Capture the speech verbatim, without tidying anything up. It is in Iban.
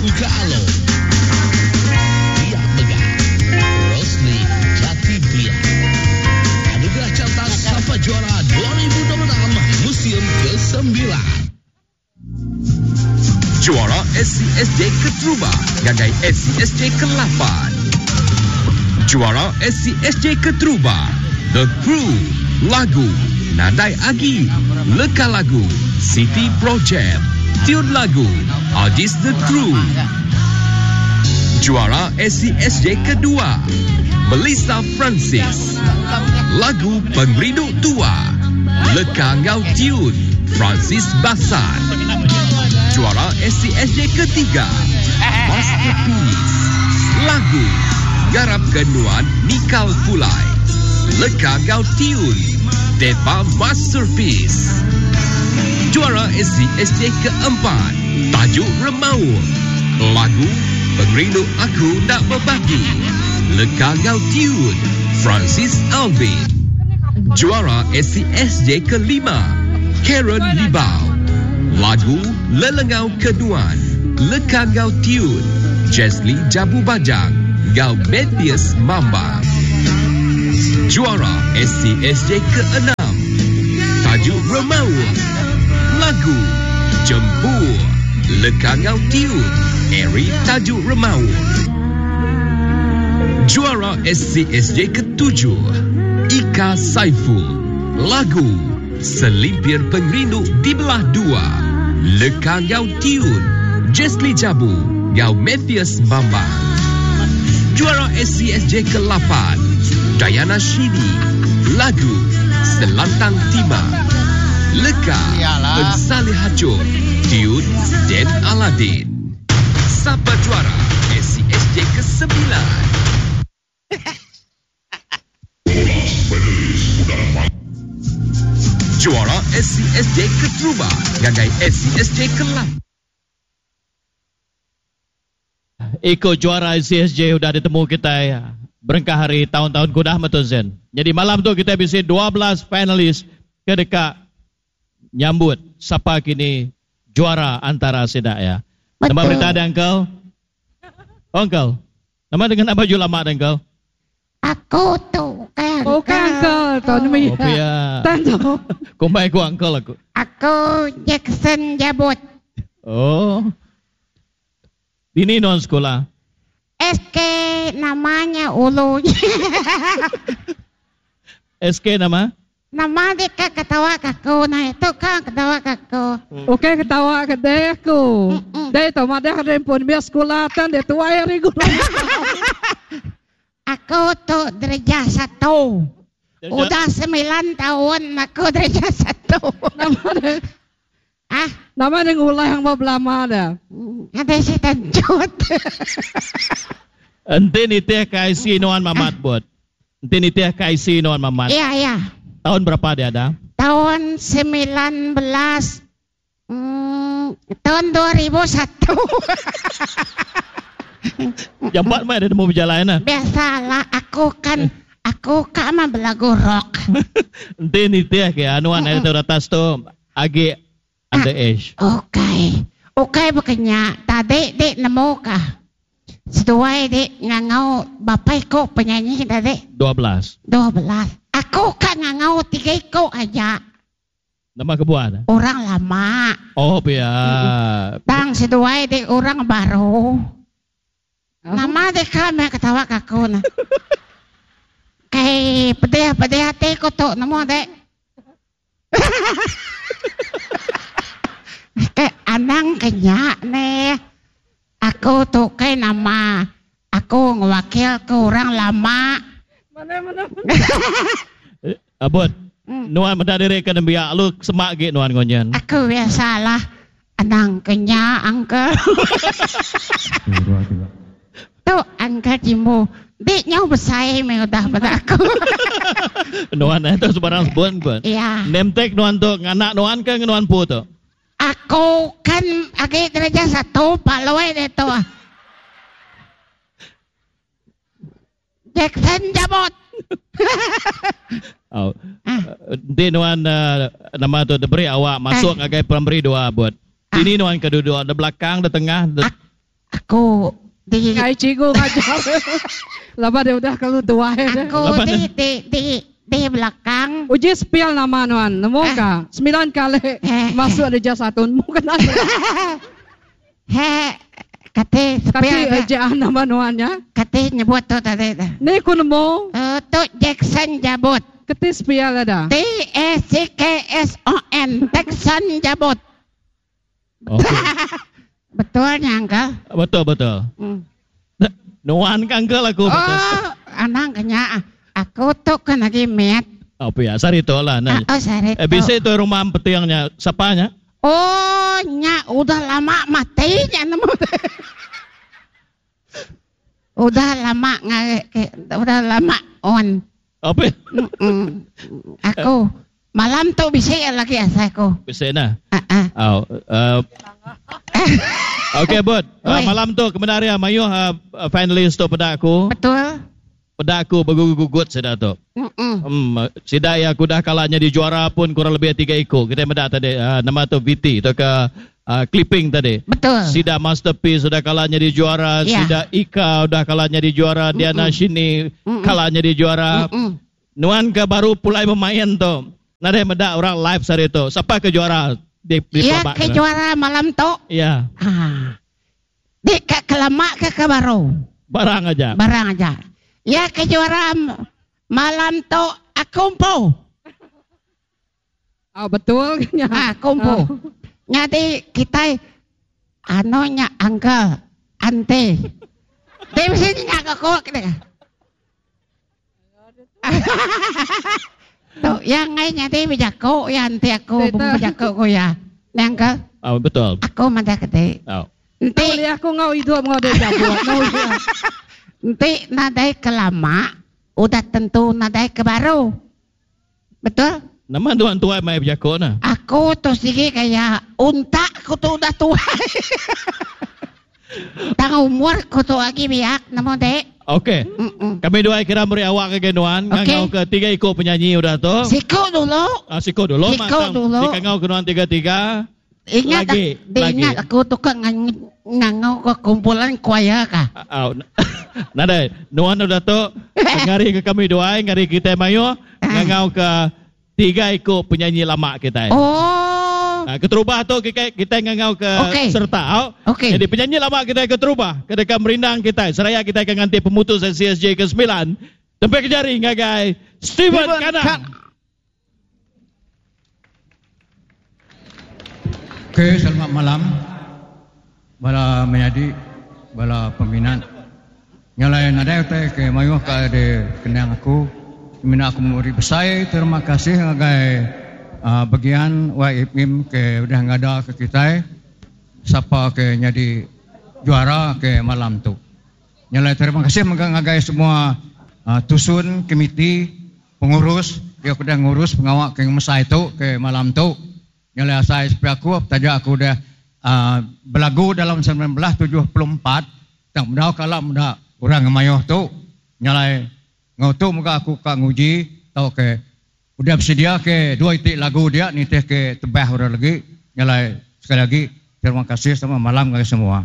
Tebuka Alo. Pia mega, Rosli Jati Biak. Anugerah Carta Sapa Juara dua ribu dua puluh enam musim kesembilan. Juara S C S J keterubah ngagai S C S J kelapan. Juara S C S J keterubah The Crew, lagu Nadai Agi, leka lagu City Project, tune lagu Ajis The Crew. Juara S C S J kedua Melissa Francis, lagu Pengerindu Tua, leka enggau tune Francis Basan. Juara S C S J ketiga Masterpiece, lagu Garap Kenuan Nikal Pulai, leka enggau tune Deva Masterpiece. Juara S C S J keempat Tajuk Remaung, lagu Pengerindu Aku Nak Berbagi, leka enggau tune Francis Alvin. Juara S C S J kelima Karen Libau, lagu Lelengau Kenuan, leka enggau tune Jesly Jabu Bajang enggau Mathias Mamba. Juara S C S J keenam Tajuk Remaung, lagu Jempur, leka enggau tune Eri Tajuk Remaung. Juara S C S J ketujuh Ika Saiful, lagu Selimpir Pengerindu Dibelah Dua, leka enggau tune Jesly Jabu enggau Mathias Mamba. Juara S C S J kelapan Diana Shini, lagu Selantang Timah, leka Ensali Hajur, tune Dan Aladin. Sapa juara S C S J kesembilan? Juara S C S J keterubah ngagai S C S J kelap. Iko juara S C S J udah ditemu kita ya. Berengkah hari tahun-tahun kudah betul Zen. Jadi malam tu kita bisi dua belas finalis ke dekat nyambut siapa kini juara antara sidak ya. Betul. Nama berita ada uncle? Oh, uncle. Nama dengan apa baju lama ada uncle? Aku tu kan. Oh, kan uncle. Tahu nama Oh, ya. Tentu. Kumbai aku uncle aku. Aku Jackson Jabut. Oh. Ini non sekolah. S K namanya Ulu. S K nama? Nama dia kan ketawa kaku. Nah itu kan ketawa kaku. Okey ketawa ke dia aku. Dia tu mah dia pun biar sekolah tan dia tua hari guru. Aku tu derajat satu. Derajat? Udah sembilan tahun aku derajat satu. Nama dia? Ah? Nama dia ngulah yang mau belama dah. Ada si tanjut. Ente ni teh K I C Noan Mamat buat. Ente ni teh K I C Noan Mamat. Iya, iya. Tahun berapa dia ada? Tahun sembilan belas, hmm, tahun dua ribu satu. Jambat mah ada mau berjalan lah. Biasalah, aku kan, aku kan mah belagu rock. Ente ni teh ke anuan ada tu atas tu agi under age. Okey. Okey bukannya tadi dek nemu kah? Seduai dek ngangau bapak ko penyanyi tadi. Dua belas. Dua belas. Aku kan ngangau tiga iko aja. Nama kebuan? Orang lama. Oh, biar. Tang seduai dek orang baru. Nama dek kami ketawa kaku nah. Kayak pedih-pedih hati ko tu nemu dek. Kayak anang kenyak nih. Aku tu kayak nama. Aku ngewakil ke orang lama. Mana mana mana. Abot. Hmm. Nuan mendak diri ke nembiak lu semak ge nuan ngonyen. Aku biasalah anang kenyak angkel. Tu angkel jimbo. Dik nyau besai me udah pada aku. Nuan itu sebarang sebut pun. Iya. Nemtek nuan tu nganak nuan ke nuan pu tu? Aku kan agi derajat satu Pak Loe dia tu. Jackson Jabot. Oh. Di nuan uh, nama tu diberi awak masuk Eh. ngagai primary dua buat. Ah. Ini nuan kedua-dua, di belakang, di tengah, di Ak- Aku di Ngai cikgu ngajar. Laba dia udah kalau tua. Aku di di di di belakang. Uji spill nama nuan. Nemu eh. ka? Sembilan kali eh. masuk di jas satu. Nemu kena. He, kate spill. Kate aja nama nuannya. Kate nyebut tu tadi. Ni ku nemu. Uh, tu Jackson Jabot. Kate spill ada. T E C K S O N Jackson Jabot. Okay. Betulnya, Uncle? Betul, betul. Hmm. Nuan kan, Uncle, aku. Oh, anang kena. Aku tu kan lagi met. Oh, ya, sari tu lah. Nah. Oh, sari tu. Eh, bisa itu rumah petiangnya, siapanya? Oh, nya, udah lama mati nya nemu. Udah lama udah lama on. Apa? Mm-mm. Aku malam tu bisa lagi asal aku. Bisa nah. Uh-uh. Oh, uh, Okey, Bud. Uh, malam tu kebenaran mayuh uh, finalis tu pada aku. Betul. Pada aku bergugut-gugut sudah tu. Mm-mm. Hmm, sida ya aku dah kalahnya di juara pun kurang lebih tiga ekor. Kita mendak tadi uh, nama tu V T tu ke uh, clipping tadi. Betul. Sida Masterpiece sudah kalahnya di juara, yeah. Sida Ika sudah kalahnya di juara, Mm-mm. Diana Shini kalahnya di juara. Mm-mm. Nuan ke baru pulai bermain tu. Nade mendak orang live sehari tu. Siapa ke juara? Di, di ya, ke juara malam tu. Ya. Ah. Di ke kelamak ke ke baru? Barang aja. Barang aja. Ya ke juara malam tu aku empu. Oh, betul. Ah, aku empu. Oh. Jadi kita anunya uncle, auntie. Dia mesti nyak aku kita. Tu yang ngai nyati bijako ya nanti aku bijako ko ya. Nang ke? Oh, betul. Aku mana kete. Oh. Nanti aku ngau hidup ngau dia jabut. Nanti nadai kelama udah tentu nadai ke baru. Betul? Nama tuan tua mai bijako nah. Aku tu sigi kayak unta aku tu udah tua. Tang umur aku tu lagi biak namo dek. Okey. Kami dua kira beri awak ke genuan, okay. Ngangau ke tiga ikut penyanyi udah tu. Siko dulu. Ah, siko dulu. Siko dulu. Di kangau genuan tiga-tiga. Ingat lagi, ak- lagi. Ingat aku tu kan ngangau ke kumpulan choir kah? Ah, nadai. Nuan udah tu ngari ke kami dua, ngari kita mayo, ngangau ke tiga ikut penyanyi lama kita. Oh. Nah, keterubah tu kita kita ngangau ke okay. serta. Okey. Jadi penyanyi lama kita keterubah, kedeka merindang kita. Seraya kita akan ganti pemutus C S J ke sembilan. Tempat ke jari ngagai Steven Kanang. Okey, selamat malam. Bala menyadi, bala peminat. Nyalai nadai utai ke mayuh ka de kenang aku. Mina aku memberi besar terima kasih ngagai Uh, bagian Y M M ke udah ngada ke kita siapa ke jadi juara ke malam tu. Nyalai terima kasih mengagai semua uh, tusun komiti pengurus dia udah ngurus pengawak ke mesai tu ke malam tu. Nyalai asai sepi aku taja aku udah uh, belagu dalam sembilan belas tujuh puluh empat tang mendau kala menda orang ngemayoh tu. Nyalai ngau tu muka aku ka nguji tau ke udah bersedia ke dua itik lagu dia nitih ke tebah orang lagi. Nyalai sekali lagi terima kasih sama malam kepada semua.